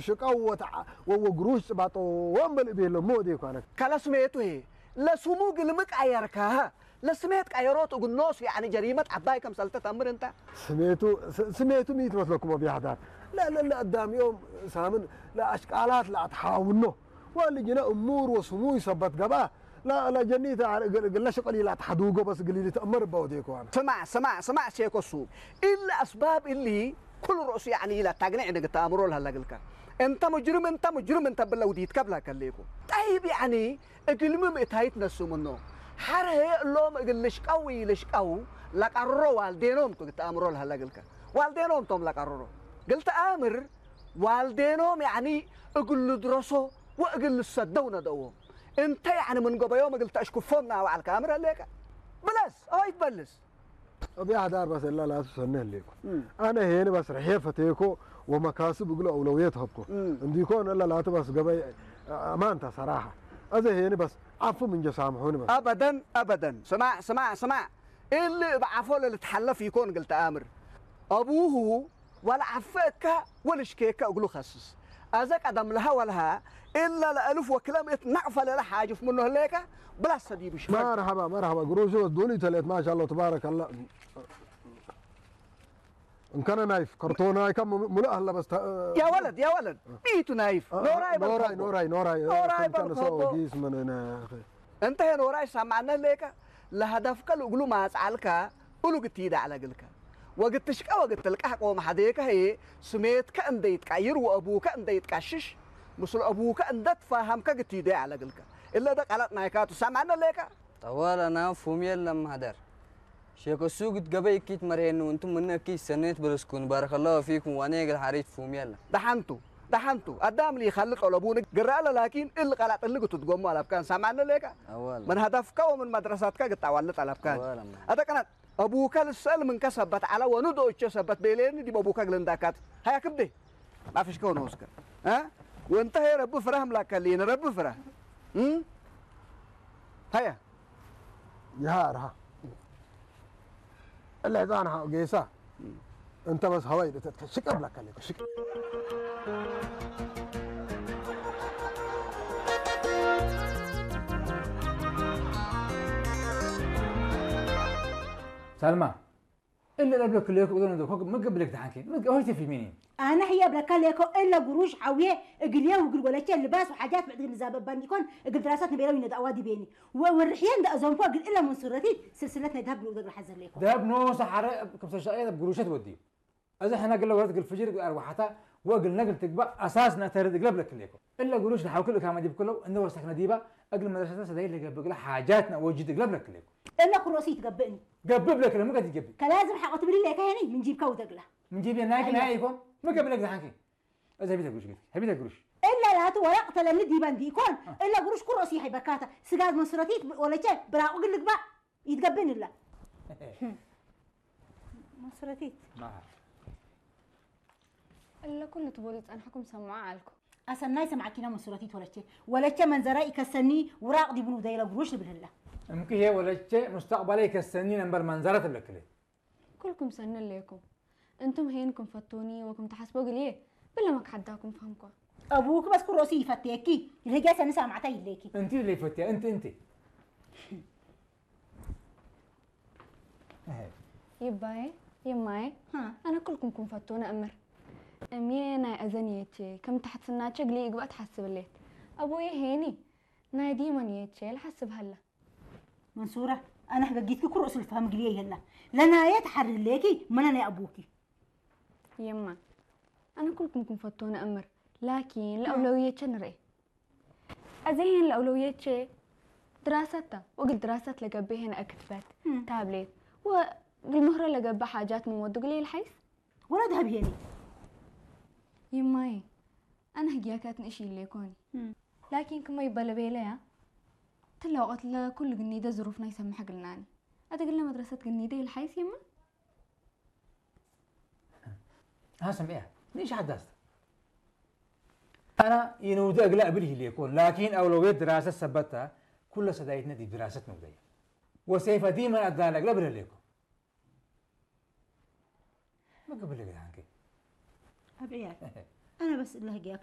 ሽቀው ወተዓ ወወግሩሽ ጽባጦ ወንበል ቤሎ ሞዴ ኳነ። ከለስሜቱ ሄ ለስሙ ግልም ቀየርካ ለስሜት ቀየሮት እግኖስ ያኒ ጀሪመት ዓባይ ከም ሰልተ ተምር እንተ ስሜቱ ስ- ስሜቱ ሚት መስለኩም ቢያህዳር ለለለ አዳሚዮም ሳምን ለአሽቃላት ለአትሓውኖ ወልጅነ እሙር ወስሙ ይሰበት ገባ ለጀኒት ግለ ሽቀል ይላ ተሓዱጎ በስ ግሊሊ ተእመር በወዴ ኳነ። ስማዕ ስማዕ ስማዕ ሴኮሱ ኢለ አስባብ እሊ ኩሉ ርእሱ ያኒ ኢላ ታግንዕ ንግተ አእምሮ ለሃለግልካ እንተ ሙጅርም እንተ ሙጅርም እንተ ብለ ውዲት ከብላ ከሌኩ ጠይብ ያኒ እግልሚ ምእታይት ነሱ ምኖ ሓረ እሎም እግል ልሽቀው ይልሽቀው ለቀርሮ ዋልዴኖም ቱ ግተ አእምሮ ለሃለግልካ ዋልዴኖም ቶም ለቀርሮ ግልተ አእምር ዋልዴኖም ያኒ እግል ልድረሶ ወእግል ልሰደው ነደዎም እንተ ያኒ ምን ገበዮም እግል ተእሽክፎም ናባዕልካ አምር ሌከ ብለስ አወይ ትበልስ እብያ ዳር በሰላ ላቱ ሰነ ሌኩ አነ ሄን በስርሐ ፈቴኮ ወመካስብ እግሎ አውለውየት ሀብኮ እንዲኮን እላ ላቱ በስ ገበይ አማንታ ሰራሐ አዘ ሄን በስ ዓፉ ምንጀ ሳምሑን በስ አበደን አበደን ስማዕ ስማዕ ስማዕ እሊ ብዓፎ ለልትሓለፍ ይኮን ግልተ አምር አቡሁ ወለዓፈ እካ ወልሽኬከ እግሉ ከስስ። አዘ ቀደም ለሀ ወለሀ እለ ለአልፍ ወክለም እት ነቅፈ ለለ ሓጅፍ ምኖ ህሌከ ብላሰ ዲቡ ሽፈግ። መርሐባ መርሐባ ግሩሹ ዱኒ ተሌት ማሻአላህ ተባረከላህ። እንከነ ናይፍ ከርቶናይካ ሙሉእ አለ በስ ያ ወለድ ያ ወለድ ኢቱ ናይፍ ኖራይ ኖራይ ኖራይ ኖራይ ኖራይ በልኮ ጊስ መነነ እንተ ሄን ወራይ ሳማዕነ ሌከ ለሀደፍከ ልእግሉ ማጽዓልካ እሉ ግትይደ ዐለግልከ። ወግትሽቀ ወግትልቃሕ ቆም ሐዴከ ህዬ ስሜትከ እንደ ይትቀይር ወአቡከ እንደ ይትቀሽሽ ምስሉ አቡከ እንደ ትፋሃምከ ግትይደ ዐለግልከ። እለ ደ ቀለጥ ናይካቱ ሳማዕነ ሌከ። ጠዋል አና ፉም የለም ሀደር። ሼክ እሱ ግት ገበይ እኪት መርሄኑ እንቱም ምነ እኪት ሰኔት በለስኩን ባረከላሁ ፊኩም ዋኔ እግል ሐሪት ፉም የለ። ደሓንቱ ደሓንቱ አዳም ሊኸልጥ ኦለቡን ግራ አለ ላኪን እል ቀላጥ እልግ ትትጎሙ አለብካን ሳማነ ሌካ አዋል ምን ሀዳፍካ ወምን መድረሳትካ ግጣዋልጥ አለብካን አዋል አማ አተ ቀናት አቡከ ልሰል ምንከ ሰበት አለ ወኑ ዶቼ ሰበት ቤሌን ዲብ አቡከ ግልንዳካት ሀያ ክብዴ ማፍሽከ ወነ ወስከ እ ወንተ ሄ ረቢ ፍራህ ምላከልየን ረቢ ፍራህ እ ሀያ ይሃርሃ እለ ህፃን ሃው ጌሳ እንተ በስ ሀዋይ ደተትከ ሽቀ ብላካ ለከ ሽቀ ሳልማ እለ ለብለክ ለኩ ዶነ ዶ ኮክ ምግብ ለክ ተሓንኪ ምግብ ሆይ ተፊ ሚኒ ኣነ ህየ ብለካ ለኮ እለ ጉሩሽ ሓውየ እግልየ ውግል ወለቸ ልባስ ወሓጃት ብዕድግ ንዛበባ እንዲኮን እግል ድራሳት ንቤረው ይነዳዋ ዲቤኒ ወወርሕየ እንደ እዞምኮ እግል እለ መንሱረቲ ስልስለት ናይ ዳብ ንውደግ ረሓት ዘለይኮ ዳብ ኖ ሰሓረ ከም ሰሻየ ጉሩሸት ወዲ እዚ ሕነ ግለ ወረት ግል ፍጅር ግል ኣርዋሓታ ወግል ነግል ትግባእ ኣሳስ ነተርድ እግለ ብለክ ለኮ እለ ጉሩሽ ንሓውክል እካማ ዲብ ክለው እንደ ወሰክነ ዲባ እግል መድረሰተ ሰዳይ ለገብእ ግለ ሓጃት ነወጅድ እግለ ብለክ ለኮ እለ ኩሮሲ ይትገብእኒ ገብእ ብለክ ለምቀት ይገብእ ከላዝም ሓቆ ትብሊ ለካ ሄኒ ምን ጂብካ ውደግላ ምን ጂብ ናይ ናይ ይኮን ምገብለክ ዝሓንኪ እዚ ሀቢተ ግሩሽ ግት ሀቢተ ግሩሽ እለ ላቱ ወረቅ ተለኒ ዲበን ዲኮን እለ ግሩሽ ኩሮሲ ይሕበካታ ስጋዝ መስረቲት ወለቸ ብራቁ ግልግባ ይትገብን እላ መስረቲት እለ ኩሉ ትቦሉ ጸንሕኩም ሰምዖ አልኩ ኣሰናይ ሰምዓኪና መስረቲት ወለቸ ወለቸ መንዘራ ይከሰኒ ውራቅ ዲቡን ውደይለ ግሩሽ ልብልላ እምክሄ ወለቸ ሙስተቅባለ ይከሰኒ ነንበር መንዘራ ትብለክለ ኩልኩም ሰኒ ኣለኩም እንቱም ሄን ክም ፈቶኒ ወክም ተሓስቦ ግልየ ብለ መክሓዳኩም ፈህምኳ። ኣቡክ በስ ኩሮሲ ይፈትየኪ ይልህጃ ሰኒ ሳማዕታ ይለኪ። እንቲ ለይ ፈትያ እንቲ እንቲ። ይባየ ይማየ ኣነ ኩልኩም ክም ፈቶነ እምር እምየ ናይ እዘን የቼ ከም ተሕትናቸ ግሊ ይግባእ ትሓስብ ሌት ኣቦየ ሄኒ ናይ ዲመን የቼ ልሓስብ ሃላ። መንሱራ ኣነ ሕገጊትኪ ኩርኡ ስልፋ ምግልየ የላ ለናየ ተሓርህለኪ መነ ናይ ኣቦኪ የማ ኣነ ኩልኩም ክንፈቶ ነእምር ላኪን ለአውለውየቸ ንርኤ እዚህን ለአውለውየቸ ድራሰታ ወግል ድራሰት ለገበ ሄነ እክትበት ታብሌት ወግል ምህሮ ለገበ ሓጃት ንሞዱ ግሌ ልሓይስ ወላ ድሀብ ሄኒ ይማይ ኣነ ህግያካት ንእሽ ኢለ ይኮኒ ላኪን ክመይ በለቤለያ ትለ ወቐት ለኩሉ ግኒደ ዝሩፍና ይሰምሐ ግልናኒ ኣተ ግለ መድረሰት ግኒደ ይልሓይስ የማ ها سمعيها ليش حدثت أنا ينودي أقلع بالهليكو لكن أولوية دراسة سبتها كل سدايتنا دي دراسة نودية وسيف ديما أدانا أقلع بالهليكو ما قبل لك عنك أبعيال أنا بس الله يقياك